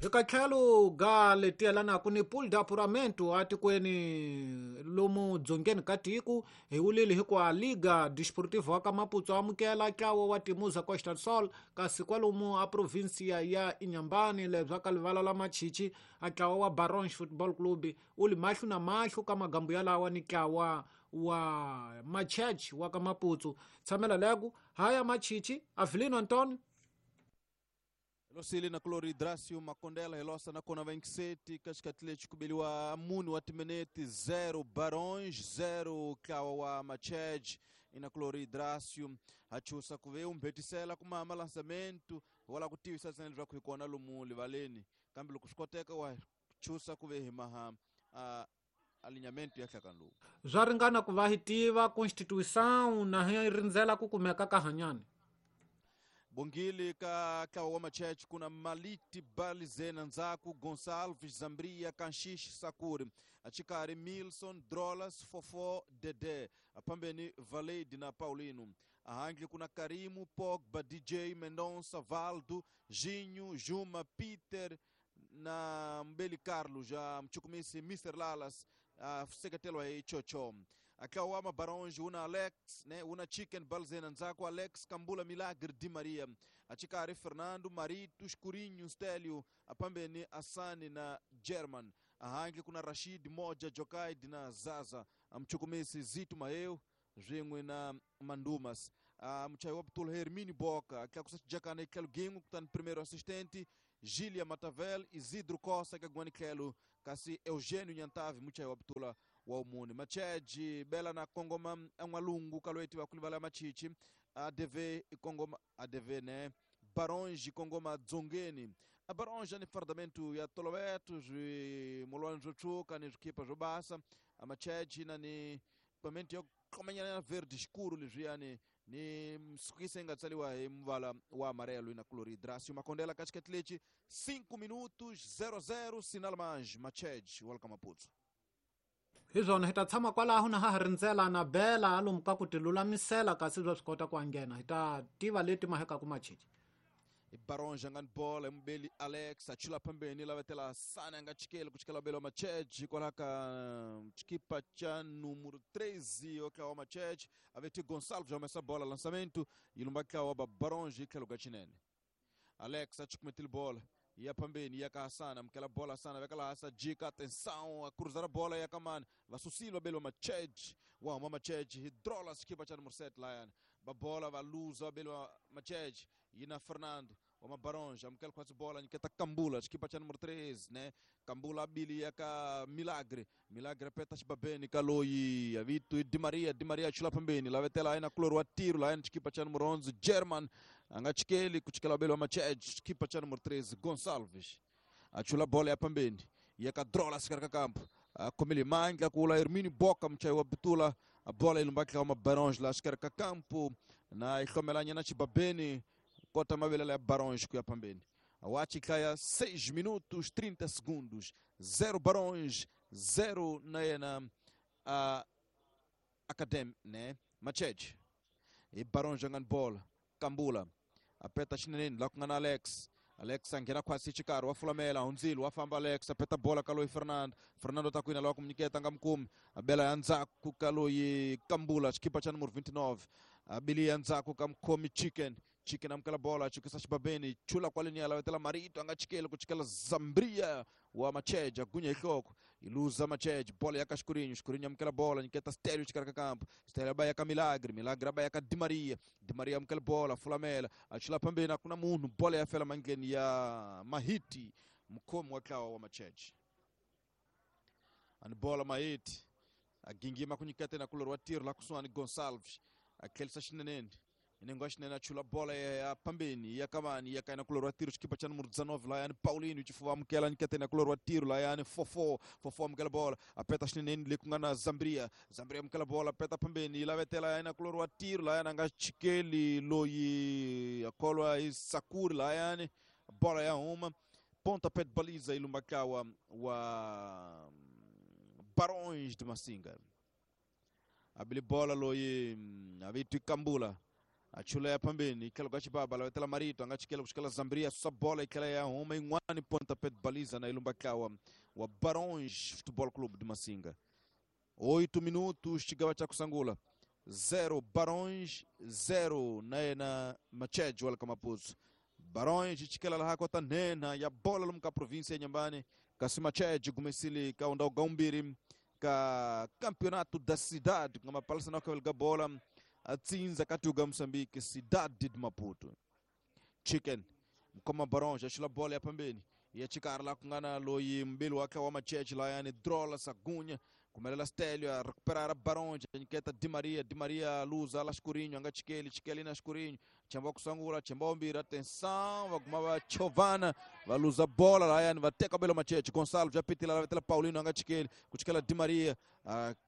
Hi ka tlhelo ga leti yelanaka ni pool d'apuramento atikweni lomu dzongeni ka tiko hi wulile hikuva Liga Desportiva wa ka Maputo amukela ntlawa wa Timuza Costa do Sol, kasi kwalomu a provinsia ya Inhambane lebya ka livala la Machichi a ntlawa wa Barons Football Club wu li mahlo na mahlo ka magambu yalawa ni ntlawa wa Machech wa ka Maputo. Tshamela leku haya Machichi Avelino Antonio. Helosile na Clori Dracio Makondela helosa na kona 27 katikati kubeliwa muni wa timeneti 0 Barões 0 kawa wa Machej ina Clori Dracio hachusa kuve umbhetisela kumama lançamento wala kutivisa tsena leswaku hi kona lomu livaleni kambe loko swi koteka wa chusa kuve hi maha alinhamento ya hlakani lowu swa ringana ku va hi tiva constituição na hi rindzela ku kumeka ka hanyani. Bongile ka ntlawa wa Machech kuna Maliti Balizena ndzhaku Gonçalves Zambria Kanxish Sakuri achikari Milson Drolas Fofo Dede apambeni Valade na Paulino ahandle kuna Karimu Pogba DJ Mendonça Valdo Ginho Juma Peter na Mbeli Carlos a mchukumisi Mr Lalas seketelwa hi Chocho akawa Mabaronge una Alex ne una Chicken Balzena ndzhaku Alex Kambula Milagre Di Maria achikari Fernando Marito Escurinho Stelio apambeni Asani na German ahandle kuna Rashid Moja Jokaid na Zaza amchukumisi Zito Maeu zwin'we na Mandumas mchayi wa Ptula Hermínio Boca akakusa xijakana etlhelo gin'we kutani primeiro assistente Gília Matavel Isidro Costa kagwani tlhelo kasi Eugênio Nyantavi muchayi wa Ptula wa umuni Macheji bela na kongoma an'walungu kalweti wa kulivala Machichi ADV kongoma ADV ne Barões kongoma dzongeni a Barões ni fardamento ya toloveto swimolwani swo tshuka ni swikhipa swo basa a Macheji na ni equipamento ya komanyana verde escuro leswiyani ni msukisa inga tsaliwa hi muvala wa amarelo na cloridracio Makondela katikati lechi 5 minutos 00 sinal mais Macheji wa ka Maputo. Hi swona hi ta tshama kwalaho na ha ha rindzela na bela lomu ka ku ti lulamisela kasi bya swi kota ku anghena hi ta tiva leti mahekaku Machichi. Barões angani bola mbeli Alex achula pambeni lavetela sana anga chikele kuchikela belo Macheji kwala ka chikipa cha número 13 okawa Macheji aveti Gonçalves amesa bola lançamento ilumba kawa ba Barões ikelo gachinene Alex achikumetile bola ya pambeni ya Hasana mkela bola sana vekala hasa jika atenção a cruzar a bola ya kamani vasusilo belo Macheji wa mama Macheji hidrola chikipa cha número 7 lion ba bola va luza belo Macheji ina Fernando wa Mabaronja amkela kwa bola niketa Kambula chikipa cha número 3 né Kambula bili yaka Milagre Milagre peta chibabeni kaloyi avitu Di Maria Di Maria chula pambeni lavetela aina kloro wa tiro la chikipa cha número 11 German angachikeli kuchikela belo Macheji chikipa cha número 13 Gonçalves achula bola ya pambeni yaka drola sikaraka kampo komele manga kula Hermínio Boca mchai wa Bitula a bola ilumbaki kama Barões la sikaraka kampo na ikhomela na chibabeni kota mabelela ya Barões kuya pambeni awachi kaya 6 minutos 30 segundos 0 Barões 0 na yena Academy né Macheji e Barões jogando bola Kambula apeta chinene la kungana Alex Alex angena kwasi chikaro wa fulamela unzilo wafamba Alex apeta bola kaloi Fernando Fernando takwina la kumnyiketa ngamkumi abela yanza kukaloi Kambula chikipa cha número 29 abili yanza kukamkomi Chicken Chicken amkala bola chikisa chibabeni chula kwa linia lawetela Marito angachikele kuchikela Zambria wa Macheji agunya ihloko iluza Macheji bola yaka Escurinho Escurinho amkala bola niketa Stelio chikaraka kampo Stelio baya ka Milagre Milagre baya ka Di Maria Di Maria amkala bola fulamela achula pambeni akuna munhu bola ya fela mangeni ya Mahiti mkomo wa klawa wa Macheji ani bola Mahiti agingima kunyikete na kulorwa tiro la kuswani Gonçalves akelisa chinenene inengo chinene achula bola ya pambeni ya kamani ya kaina kulorwa tiro chikipa cha número 19 la yani Paulinho chifuwa mkela nikete na kulorwa tiro la yani Fofo Fofo mkela bola apeta chinene likungana Zambria Zambria mkela bola apeta pambeni la vetela yana kulorwa tiro la yani angachikeli loyi akolwa isakuri la yani bola ya uma ponta pé de baliza ilumbakawa wa Barões de Massinga abili bola loyi avitu Kambula Achula ya pambeni itlhelo ka xibaba lavetela Marito a nga chikela ku xikela Zambria susa bola yi tlhela ya huma yin'wani pontapé de baliza na ilumba tlawa wa Barões Futebol Clube de Massinga. 8 minutos xigava xa kusangula 0 Barões 0 na yena Machej wa le ka Maputo. Barões chikela laha kota nhenha ya bola lomu ka província ya Nyambane kasi Machej gumesile ka undhawu ga umbirhi ka campeonato da cidade ku nga mapalisa na kavela ga bola atsindza ka tuga Moçambique Cidade de Maputo. Chicken mkoma Barões axula bola ya pambeni ya chikara la ku nga na loyi mbili wakhe wa Machej layani Drola Sagunha kumelela Stelio a recuperar a Barões a nyiketa Di Maria, Di Maria luza la Escurinho a nga chikeli chikeli na Escurinho chamba kusangula chamba umbirhi atenção va guma va chovana va luza bola layani va teka belo Machej Gonçalo já pitila lavetela Paulino a nga chikeli ku chikela Di Maria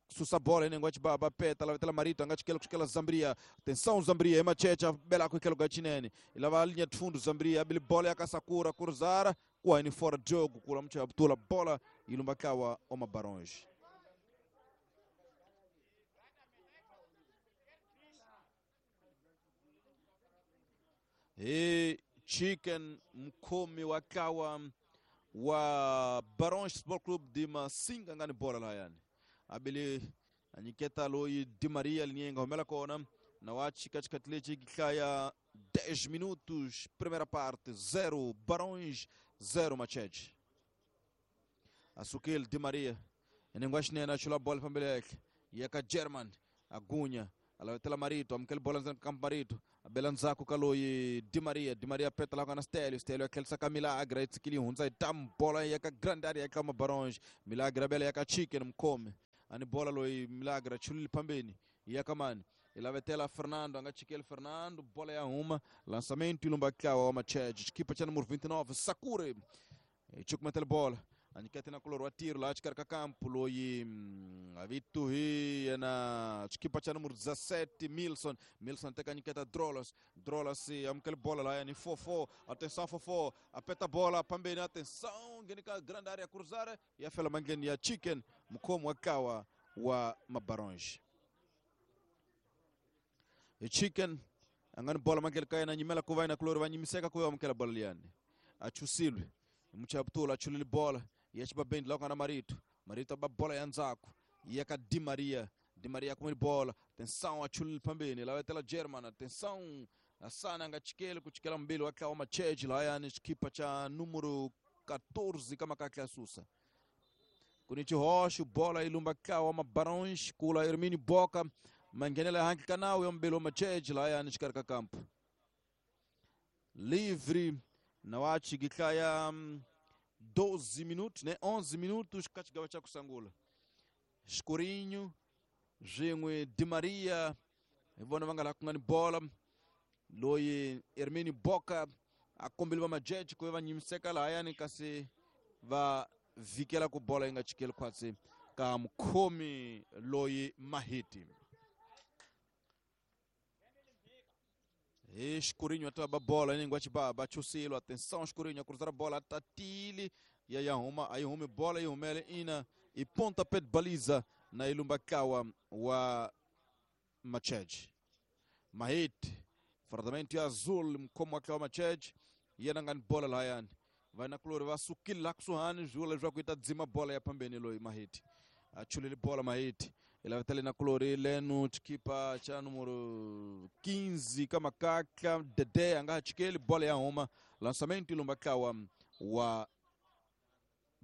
susa bola inengo ya chibaba peta lavetela Marito a nga chikeli ku chikela Zambria atenção Zambria e Machej a bela ku ikelo ga chinene ilava linha de fundo Zambria abili bola ya Kasakura cruzar kuwaini fora de jogo kula mcha abtula bola ilumba kawa oma Barões. E Chicken mkhomi wa kawa wa Barões Futebol Clube de Massinga ngani bola layani abili anyiketa loyi Di Maria linyenga humela kona na wachi katikati lechi kihlaya 10 minutos primeira parte 0 Barões 0 Machete. Asukil Di Maria enengwa xinene achula bola pambele yakhe yeka German Agunya alavetela Marito amukela bola ndzeni ka Marito abela ndzhaku ka loyi Di Maria, Di Maria peta la na Stelio, Stelio akhelisa ka Milagre itsikili hundza yi tam bola yeka grande area yeka Mabarões Milagre abela yeka Chicken mkhomi ani bola loyi Milagre achulile pambeni yeka mani ilavetela Fernando a nga chikeli Fernando bola ya huma lançamento ilumba tlawa wa Machej xikipa xa número 29 Sakure chukumetela bola anyikete na kulor wa tiro laha xikarhi ka kampo loyi avitu hi yena xikipa xa número 17 Milson, Milson teka nyiketa Drolas, Drolas amukela bola lahayani 4-4 atenção 4-4 apeta bola pambeni atenção ngheni ka grande área cruzar ya fela mandleni ya Chicken mukhomi wa kawa wa Mabarões. Chicken a nga ni bola mandleni ka yena nyimela ku va yena kulori va nyimiseka ku ya amukela bola liyani achusilwe muchaputula achulile bola ya xibabendi la ku nga na Marito, Marito ba bola ya ndzhaku ya ka Di Maria, Di Maria kumile bola atenção achulile pambeni lavetela German atenção Asana nga chikeli ku chikela mbili wa tlawa Machej lahayani xikipa xa número 14 ka makakla susa kuni xihoxo bola yi lumba tlawa Mabarões kula Hermínio Boca manghenela handle ka nawu ya mbili wa Machej lahayani xikarhi ka kampo livre na wachi gihlaya 12 minutos ne 11 minutos ka xigava xa kusangula Escurinho swin'we Di Maria hi vona va nga laha ku nga ni bola loyi Hermínio Boca a kombeli va Majeje ku va nyimiseka lahayani kasi va vhikela ku bola yi nga chikeli khwatsi ka mukhomi loyi Mahiti. Hi Escurinho a ba bola inengo xibaba chusilo atenção Escurinho a cruzar a bola tatili ya ya huma a yi humi bola yi humele ina i pontapé de baliza na ilumba kawa wa Machej. Mahiti fardamento ya azul mkhomi wa kawa Machej yena nga ni bola lahayani va na kulori va sukile laha kusuhani swi vula leswaku yi ta dzima bola ya pambeni loyi Mahiti achulile bola Mahiti ilavetele na kulori lenu xikipa xa número 15 ka makakla Dede a nga ha chikeli bola ya huma lançamento ilumba tlawa wa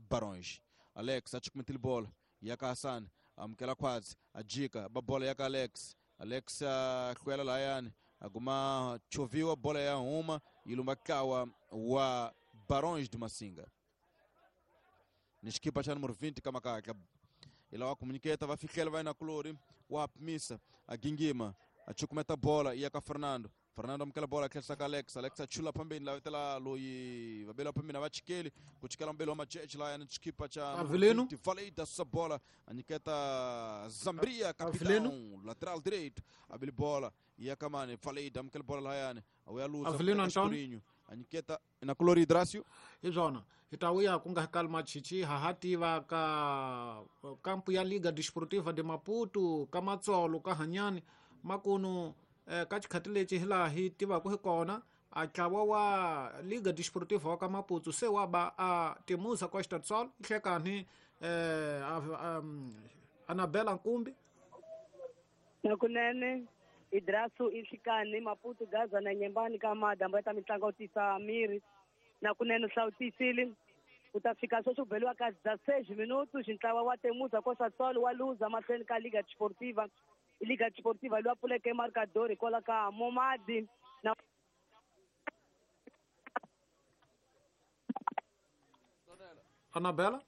Barões. Alex a chukumetile bola ya ka Hassan amukela khwatsi a jika ba bola ya ka Alex, Alex a hlwela lahayani a guma choviwa bola ya huma ilumba tlawa wa Barões de Massinga ni xikipa xa número 20 ka makakla ila wa komuniketa va fihlela va na kulori wa pimisa a gingima a chukumeta bola iya ka Fernando, Fernando amukela bola tlherisa ka Alex, Alex achula pambeni lavetela loyi vabela pambeni va chikeli ku chikela mbeli wa Macheche lahayani xikipa xa Avelino Valida susa bola anyiketa Zambria capitão lateral direito abili bola iya kamani Valida amukela bola lahayani awuya luza Avelino Antonio anyiketa na kulori Dracio hi swona hi ta vuya ku nga kali machichi ha ha tiva ka kampu ya Liga Desportiva de Maputo ka Matsolo ka Hanyani makunu Ka xikhati lexi hi laha hi tivaka hi kona a ntlawa wa Liga Desportiva wa ka Maputo se wa ba a Temuza Costa do Sol hlekani Anabela Nkumbi. Nakunene Idrasu Inhlikani Maputo Gaza na Nyembani ka madambo ya ta mitlangu tisa miri nakunene hlawutisile ku ta fika sweswi ku beliwa ka 16 minutos ntlawa wa Temuza Costa do Sol wa luza mahlweni ka Liga Desportiva. Liga Desportiva loyi a pfuleke marcador hikwalaho ka Momadi na Anabela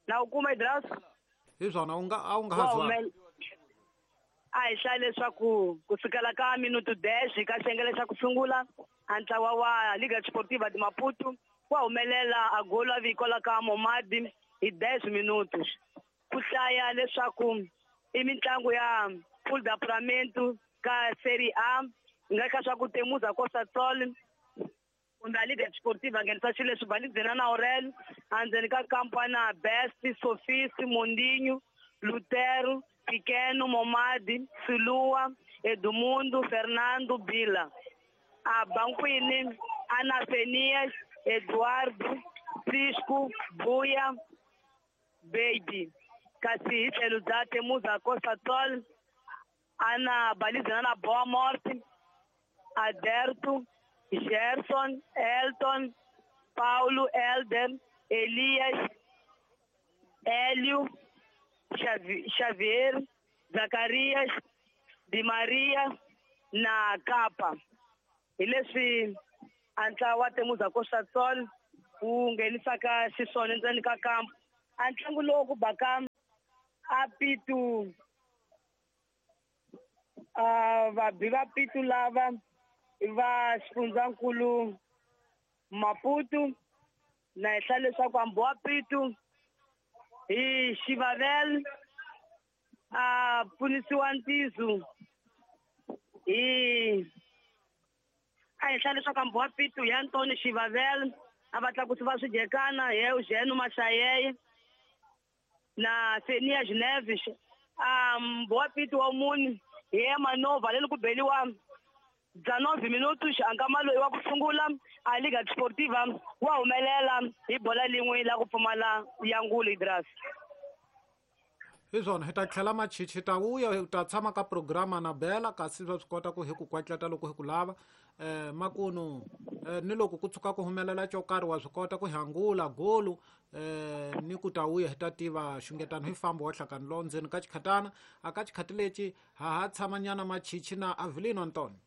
na u kuma Idrasu hi swona u nga a wu nga ha zwala a hi hlaya leswaku ku sukela ka minuto 10 ka xiyengele xa ku sungula a ntlawa wa Liga Desportiva de Maputo wa humelela a golo a vikola ka Momadi hi 10 minutos ku hlaya leswaku i mitlangu ya Pool d'Apuramento ka Serie A nga ka swa ku Temuza Costa do Sol kumbe a Liga Desportiva nghenisa xilo leswi Balizena na Aurelio endzeni ka kampana Best, Sofisi, Mondinho, Lutero, Pequeno, Momadi, Silua, Edmundo, Fernando, Bila. A bankwini Ana Fenias, Eduardo, Cisco, Buya, Baby. Kasi hi tlhelo bya Temuza Costa do Sol ana Balizena na Boa Morte, Aderto, Gerson, Elton, Paulo, Elder, Elias, Hélio, Xavier, Zacarias, Di Maria na Kapa. Hi leswi a ntlawa wa Temuza Costa do Sol wu nghenisaka xiswona endzeni ka kampo. A ntlangu lowu ku baka a pitu vabi va pitu lava va xifundzankulu Maputo na hehla leswaku hambi wa pitu hi Xivavel a pfunisiwa Ntizu hi a hehla leswaku hambi wa pitu hi Antoni Xivavel a va tlakusi va swidyekana hi Eugene Mashayeye na Fenia Geneves a mbowa pitu wa muni hi Emanova leni ku beliwa 19 minutos ankama loyi wa ku sungula a Liga Desportiva wa humelela hi bola lin'we la ku pfumala ya ngulu Idras. Hi swona hi ta tlhela machichi ta vuya hi ta tshama ka programa na Bela kasi swa swi kota ku hi ku kwatleta loko hi ku lava makunu ni loko ku tshuka ku humelela xo karhi wa swi kota ku hangula golu ni ku ta vuya hi ta tiva xungetano hi fambo wa hlakani lowu ndzeni ka xikhatana a ka xikhati lexi ha ha tshamanyana machichi na Avelino Antonio.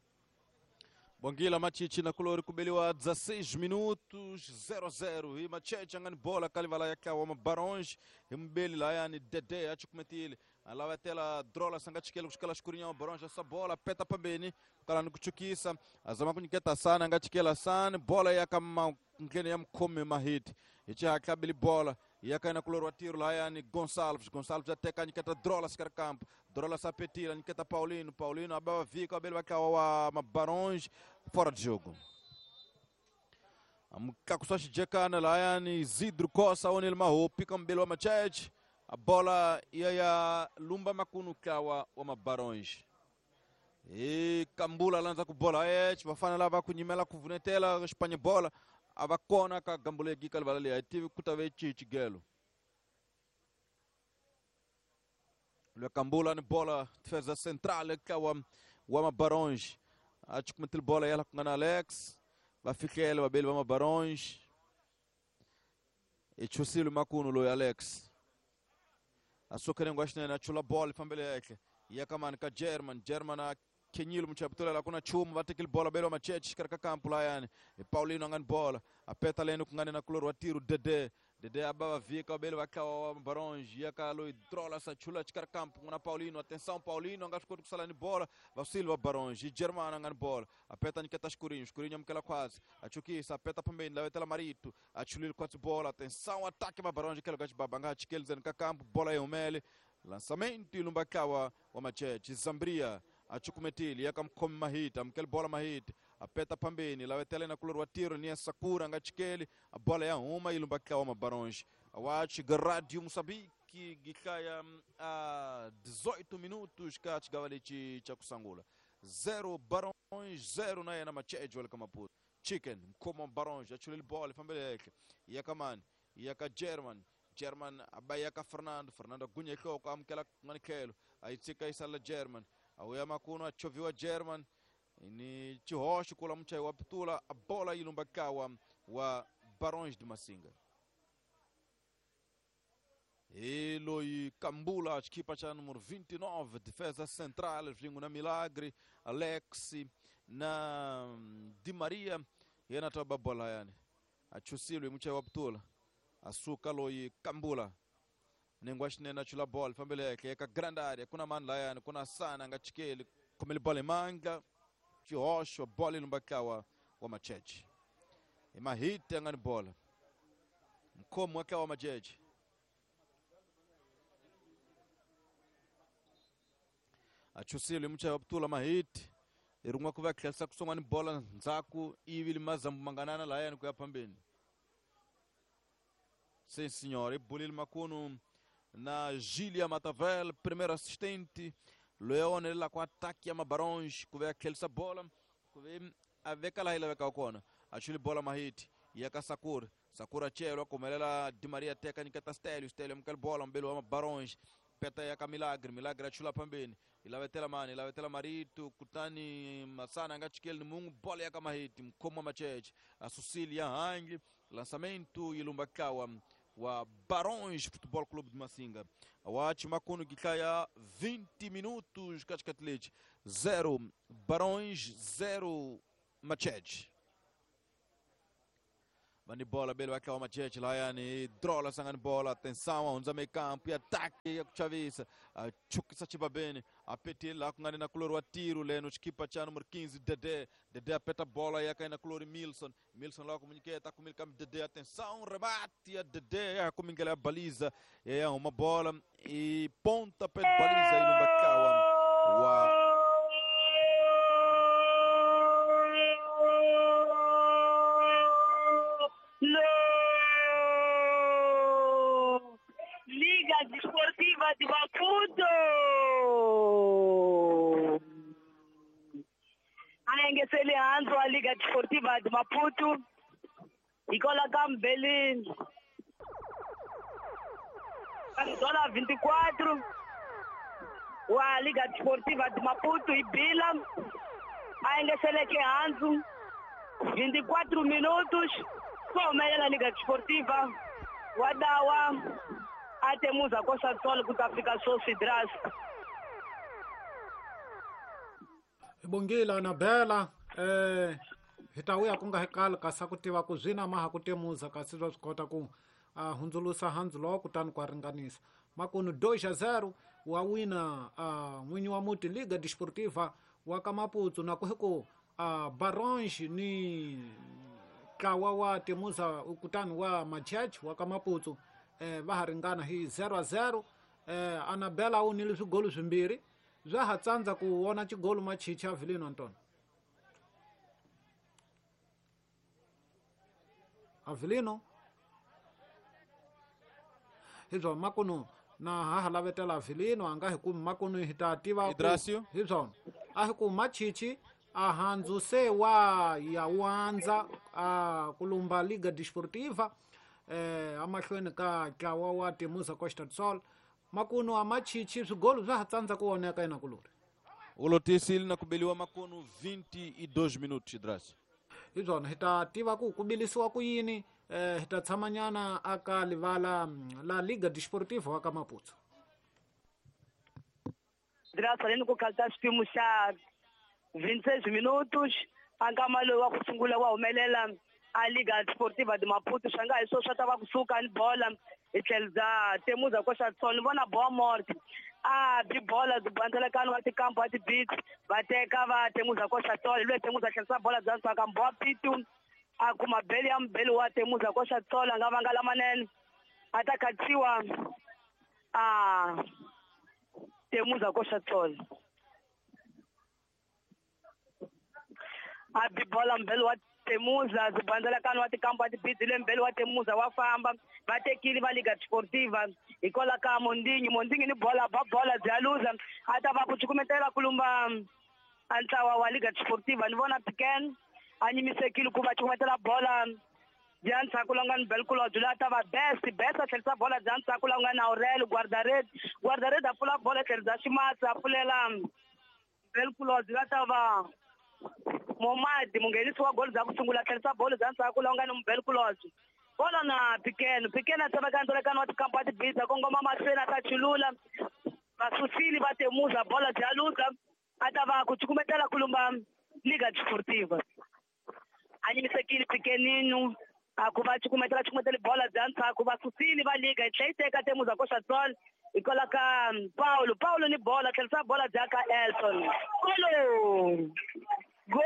Bongila Machichi na kulori kubeliwa 16 minutos 0-0 hi Macheche angani bola kalivala ya kawa Mabaronge hi mbeli la yani Dede achikumetile alavetela drola sangachikela kushikala shukurinha Mabaronge essa bola peta pambeni kala nikuchukisa azama kunyiketa sana angachikela sana bola ya kama ngene ya mkome mahiti ichi hakabili bola yakaina kulori wa tiro la yani Gonçalves Gonçalves ateka nyiketa drola sikar campo drola sapetila nyiketa Paulino Paulino ababa vika abele bakawa wa Mabaronge fora de jogo. Amkakuswa xijekana la yani Isidro Costa onel maho pika mbele wa Macheche a bola ya lumba makunu kawa wa Mabaronge e Kambula lanza ku bola vafana lava kunyimela kuvunetela Espanha bola avakona ka gambulegi kalvala le tive kutave chichigelo le Kambula ni bola defesa central kawa wa Mabaronge achikumetil bola yala kungana Alex vafikele babeli va Mabaronge echusile makuno lo Alex asokere ngwashinene achula bola fambele yake yakamani ka German German kenyilo mchaputula la kuna chumu vatekile bola belo Macheche karaka kampu la yani Paulino angani bola apeta leno kungane na kuloro wa tiro Dede Dede ababa vika belo vakawa Mabaronge yakalo drola sachula chikar kampu kuna Paulino atenção Paulino angashiko kusala ni bola va Silva Baronge German angani bola apeta niketa Escurinho Escurinho amkela quase achukisa apeta pambeni la vetela Marito achulile quase bola atenção ataque Mabaronge kelo gachi babanga chikelzen ka kampu bola yomele lançamento ilumbakawa wa Macheche Zambria achukumetili yakamkhomi mahita amkele bola mahita apeta pambeni lawetele na kulor wa tiro ni Sakura ngachikeli a bola ya uma ilumbakawa Mabaronge awachi Radio Moçambique ataki gihlaya a 18 minutos ka xigawa lexi xa ku sungula 0 Barões 0 na yena Machejo wa le ka Maputo. Chicken mkhomo Barões a chulele bola fambele henhla ya ka mani ya ka German German a ya ka Fernando Fernando gunya nhloko amukela kun'wana tlhelo a yi tshika yi sala German a wuya makuno a chovhiwa German ni xihoxo kula muchayi wa pitula a bola yi lumba kawa wa Barões de Massinga. Hi loyi Kambula xikipa xa número 29 defesa central swin'we na Milagre Alex na Di Maria yena ta ba bola yani a chusile hi muchayi wa pitula a suka loyi Kambula nengwa xinene a chula bola fambele henhla eka grand area ku na mani layani ku na Sana a nga chikeli khomele bola hi mandla xihoxo bola yi lumba ntlawa wa Macheche hi mahiti a nga ni bola mkhomi wa ntlawa wa Macheche a chusile hi muchayi wa pitula mahiti hi rin'we ku va tlherisa kusungani bola ndzhaku ivi limazambu manganana layani ku ya phambeni. Sim senhor, e Bolil Macuno na Gília Matavel, primeiro assistente, Leone lá com ataque a Barões, que vem aquele essa bola, que vem a ver que ela vai calcona, a Chile bola Mahit, e a Sakura, Sakura Chelo, como ela Di Maria Teca Nikata Stélio, Stélio aquela bola, um belo Barões, peta ya ka Milagre, Milagre achula pambeni, ilavetela mani, ilavetela Marito, Kutani Masana ngachikel mungu bola ya Mahit, mkoma Macheche, a Cecília Hang, lançamento ilumbakawa wa Barões Futebol Clube de Massinga. Awachi makuno gikaya 20 minutos katikati 0 Barões 0 Macheche. Bani bola belo akawa Macheche lá yani drola sangani bola atenção onza meio campo e ataque ya kuchavisa chukisa chibabene apete lá kungani na kulori wa tiro leno chikipa cha número 15 Dede Dede apeta bola yaka na kulori Milson Milson lá comunica kumilika Dede atenção rebate ya Dede ya kumingela ya baliza é uma bola e ponta pé de baliza e no bakawa wa Liga Desportiva de Maputo. A Leandro, a Liga Desportiva de Maputo. E colocamos Belém. Dólar 24. A Liga Desportiva de Maputo e Bila. A Leandro, 24 minutos. Como a Liga Desportiva. Wadawa. Até musa Costa do Sol kutafika Socidras. Bongila na Bela hi ta vuya ku nga hi kali kasi ku tiva ku zwina ma ha ku temuza kasi swa swi kota ku hundzulusa handzu lowo kutani ku ringanisa makunu 2-0 wa wina n'winyi wa muti Liga Desportiva wa ka Maputo na ku hi ku Barões ni ntlawa wa temuza kutani wa Macheche wa ka Maputo va ha ringana hi 0-0 Anabela u nile swigolo swimbirhi swa ha tsandza ku vona xigolo Machichi Avelino Antonio Avelino hi swona makunu na ha ha lavetela Avelino a nga hi kumi makunu hi ta tiva hi swona a hi ku Machichi a handzu se wa ya wandza a kulumba Liga Desportiva amahlweni ka ntlawa wa Temuza Costa do Sol makunu a Machichi swigolo swa ha tsandza ku voneka ina kulori ulotisile na kubeliwa makunu 22 minutos Idrasi hi swona hi ta tiva ku bilisiwa ku yini hi ta tshamanyana aka livala la Liga Desportiva wa ka Maputo Idrasi aleni ku khalta xipimo xa 26 minutos a nkama lowu wa ku sungula wa humelela a Liga Desportiva de Maputo swa nga hi swo swa ta va kusuka ni bola hi tlhelo bya Temuza Costa do Sol ni vona Boa Morte a bi bola byi bandzelekani wa tikampo wa tibits va teka va Temuza Costa do Sol loyi Temuza tlherisa bola bya ntswaka Mboa Pitu a kuma beli ya mubeli wa Temuza Costa do Sol a nga vanga lamanene a ta khatsiwa a Temuza Costa do Sol a bi bola mubeli wa Temuza zibandzelakano wa tikambu wa tibizile mbele wa Temuza wa famba va tekile va Liga Desportiva hikwalaho ka Mondingi Mondingi ni bola ba bola bya luza a ta va ku cukumetela ku lumba a ntlawa wa Liga Desportiva ni vona Piken a nyimisekile ku va cukumetela bola bya ndzhaku la nga ni Belkulodge loyi a ta va best best a tlherisa bola bya ndzhaku la nga na Aurel Guardared Guardared a pfula bola tlherisa Ximatsi a pfulela Belkulodge loyi a ta va Momadi munghenisi wa golo bya ku sungula tlherisa bolo bya ndzhaku la nga ni Belkulodge bola na Piken Piken a tseveka ndzolekano wa tikampa tibisa kongoma mahlweni a ta chulula vasusile va Temuza bola bya luza a ta va ku cukumetela ku lumba Liga Desportiva a nyimisekile Pikeninu a ku va cukumetela cukumetela bola bya ndzhaku va susile va Liga yi tlhela yi teka Temuza koxa tsolo hikwalaho ka Paulo Paulo ni bola tlherisa bola bya ka Elton Paulo Gol!